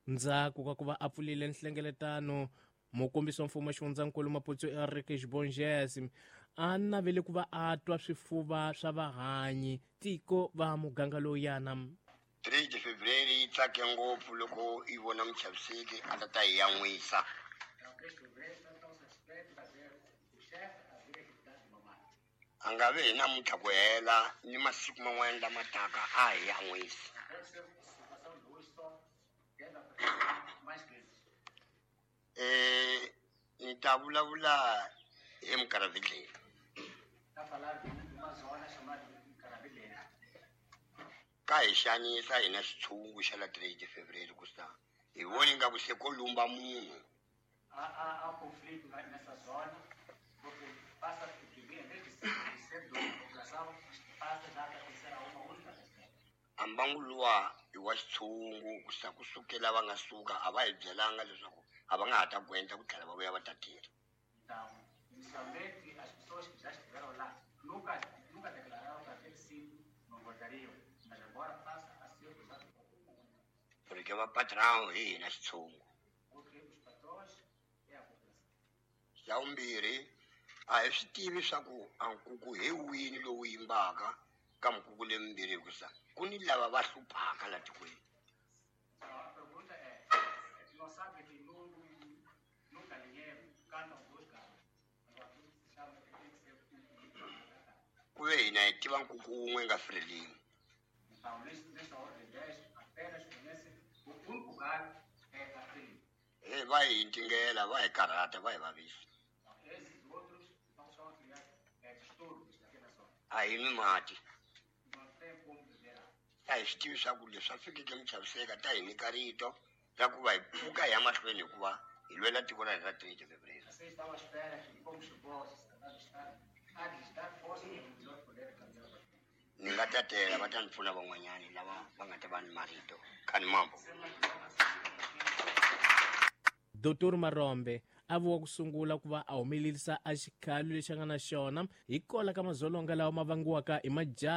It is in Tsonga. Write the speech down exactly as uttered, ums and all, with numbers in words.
Ndzhaku ka ku va a pfulile nhlengeletano, mukombisi wa mfumo wa xifundzankulu Maputsu Eric Xibonjezi a navele ku va a twa swifuva swa vahanyi tiko va muganga lowuyana. three de Fevereiro yi tsake ngopfu loko yi vona Muchaviseki a ta ta hi yan'wisa. A nga vi hi namuntlha ku hela ni masiku man'wana lama taka a hi yan'wisa. Eh, ni ta vulavula hi Mukaravidlela. Ka hi xanisa hina xitshungu xa la three de Fevereiro ku sa hi voni nga ku se ko lumba munhu. Há conflito nessa zona, porque passa em vez de ser dois população, passa já a acontecer a uma única pessoa. A mbangu luwa i wa xitshungu ku sa kusukela va nga suka a va hi byelanga leswaku a va nga ha ta ku endla ku tlhela va vuya va ta tirha. Então, inicialmente as pessoas que já estiveram lá nunca nunca declararam que aquele sítio não voltariam, mas agora passa a ser usado por Porque va patrão hi hina xitshungu. Porque os patrões é a população. Xa vumbirhi, a hi swi tivi swa ku a nkuku hi wini lowu yimbaka ka minkuku lemimbirhi hikusa ku ni lava va hluphaka la tikweni. Então, a pergunta é, não sabe que num, num galinheiro cantam dois galos. Agora tudo se chama que tem que ser um. Ku ve hina hi tiva nkuku wun'we nga Frelimo. Então, nesta ordem de dez, apenas conhece o único galo é a Frelimo. He va hi ntingela, va hi karhata, va hi vavisa. Então, esses outros não são a criar é, distúrbios naquela zona. A hi nwi mati. Não tem como beber água. A hi swi tivi swa ku leswi swa fikeke Muchaviseka ta hi nyika rito ra ku va hi pfuka hi ya mahlweni hikuva hi lwela tiko ra hina ra three de Fevereiro. Vocês estão à espera que, como chegou, se está a lhes dar força para melhor poder caminhar para frente. Ni nga tatela va ta ni pfuna van'wanyani lava va nga ta va ni marito khani mambo. Doctor Marombe a vuwa ku sungula ku va a humelerisa a xikhalo lexi a nga na xona hi kola ka madzolonga lawa ma vangiwaka hi majaha.